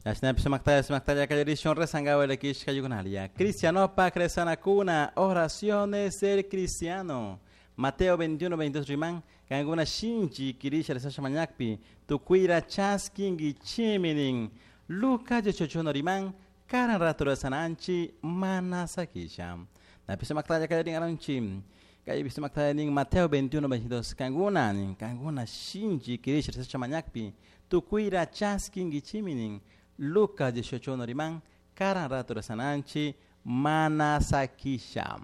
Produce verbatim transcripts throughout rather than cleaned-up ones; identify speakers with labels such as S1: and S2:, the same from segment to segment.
S1: Yashnapi sumaktaya sumaktaya kallarishun rezangawa llakishka yukunalia. Cristianopak rezanakuna, oraciones del cristiano. Mateo veintiuno, veintidós riman, kankuna shinchi kirisha rezasha mañakpi, tukuyra chaskinkichimi nin. Lucas dieciocho uno riman, karan rato rezananchi mana sakisha. Napi sumaktaya kallarin aranchi. Kaypi sumaktaya nin Mateo veintiuno, veintidós, kankuna nin, kankuna shinchi kirisha rezasha mañakpi, tukuyra chaskinkichimi nin. Lucas dieciocho uno riman, karan rato rezananchi mana sakisha.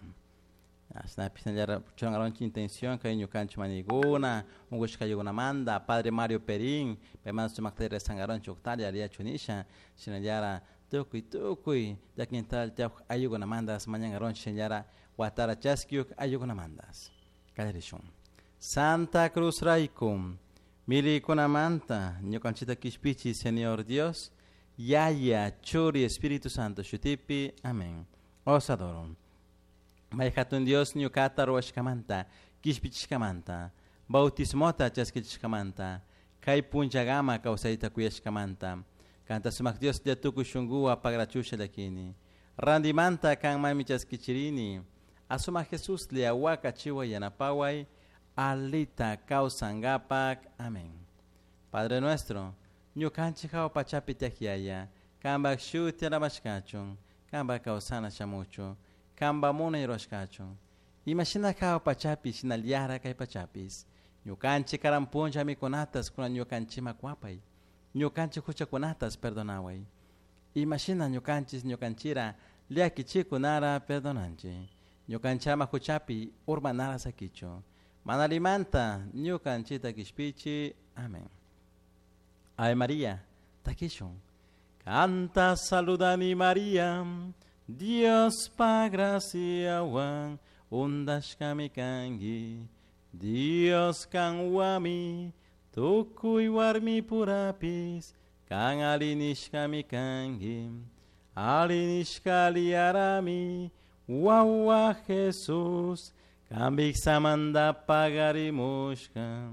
S1: Asnapi sinallara churangaronchi intención kay ñukanchik mañaykuna, unkushkayukunamanta, Padre Mario Perín, paymanta sumakta rezangaronchik uqtalla ariyachu nisha, shinallara tukuy tukuy llakintal tiyawk ayukunamantas mañangaronchik shinallara watara chaskiyuk ayukunamantas. Kallarishun. Santa Cruz rayku, milikunamanta ñukanchikta kishpichi Señor Dios, Yaya, Churi, Espíritu Santo, shutipi, amén. Os adoro. May hatun Dios ñukata ruwashkamanta, kishpichishkamanta, bautismota chaskichishkamanta, kay punchagama kawsayta kuyashkamanta, kanta sumak Dios llatukuy shunkuwa pagrachusha llakini. Randimanta kanmanmi chaskichirini, asuma Jesús liawaka chiwa yanapaway, alita kawsangapak. Amén. Padre nuestro, ñukanchik hawa pachapi tiyak yaya, kanpak shuti alabashkachun, kanpak kawsana shamuchu, kanpa munay rurashkachun. Imashina hawa pachapi shinallara kay pachapis, ñukanchik karan puncha mikunatas kunan ñukanchikman kuwapay, ñukanchik huchakunatas perdonaway. Imashina ñukanchis ñukanchira llakichikunara perdonanchik. Ñukanchama huchapi urmanara sakichu. Manalimanta ñukanchita kishpichi. Amén. Ave María, takishun. Canta saludani María, Dios pa graciawan, undashkami kanki. Dios kanwami, tukuy warmi purapis, kan alinishkami kanki. Alinishka liarami, wawa Jesús, kambik samanda pagarimushka.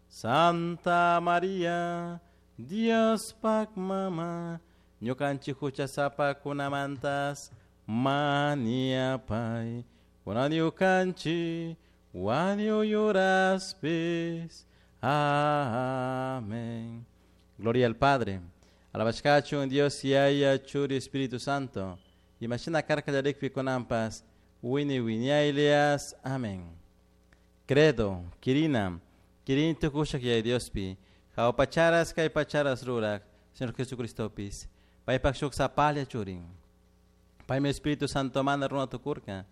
S1: Santa María, Dios pak mama, ñukanchik huchasapakunamantas maniapay, kunan ñukanchik wañuyuraspis. Amén. Gloria al Padre, alabashkachun Dios Yaya, Churi, Espíritu Santo. Imashina karkallarikpi kunanpas, wini wiñaylias. Amén. Credo, Kirina, Kirin tukushak Yaya Diospi, hawa pacharas kay pacharas rurak, Señor Jesucristopis, paypak shuk sapalla churin. Paymi Espíritu Santo mana runa tukurka,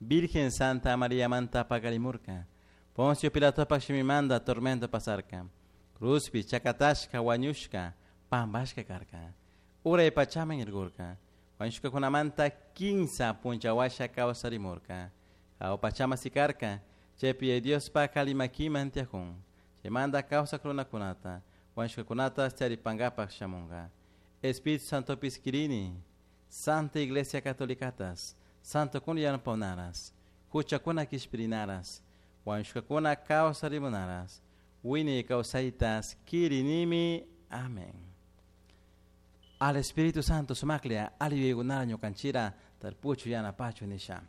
S1: Virgen Santa María manta pagarimurka, Poncio Pilatopak shimimanta tormento pasarka, cruzpi chakatashka wañushka, pampashka karka, uray pachaman irgurka, wañushkakunamanta kinsa punchawasha kawsarimurka, hawa pachama sikarka, chaypi Diospa kalimakiman tiyakun, chaymanta kawsak runakunata, wañushkakunata charipankapak shamunka. Espíritu Santopis kirini, Santa Iglesia Catolicatas, Santo kun yanapawnaras, huchakuna kishpirinaras, wañushkakuna kawsarimunaras, wiñay kawsaytas kirinimi. Amén. Al Espíritu Santo sumaklia, ali yuyaykunara ñukanchira, tarpuchu yanapachu nisha.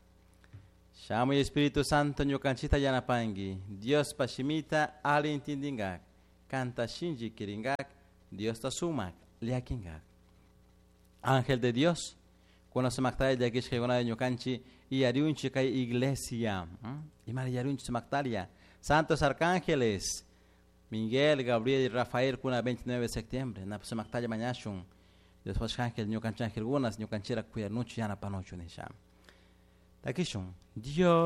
S1: Shamuy Espíritu Santo ñukanchita yanapanki, Diospa shimita ali intindinkak, kanta shinchi kirinkak, Diosta sumak llakinkak. Ángel de Dios, kuna sumaktalla llakishkaykunata ñukanchik iyariunchik kay iglesia. Imara iyariunchik sumaktaria. Santos Arcángeles, Miguel, Gabriel y Rafael, kuna veintinueve de septiembre, na sumaktalla mañashun. Dios ángel, ñukanchik angelkunas, ñukanchira cuidanuchu yanapanuchu nisha. Takishun. Dios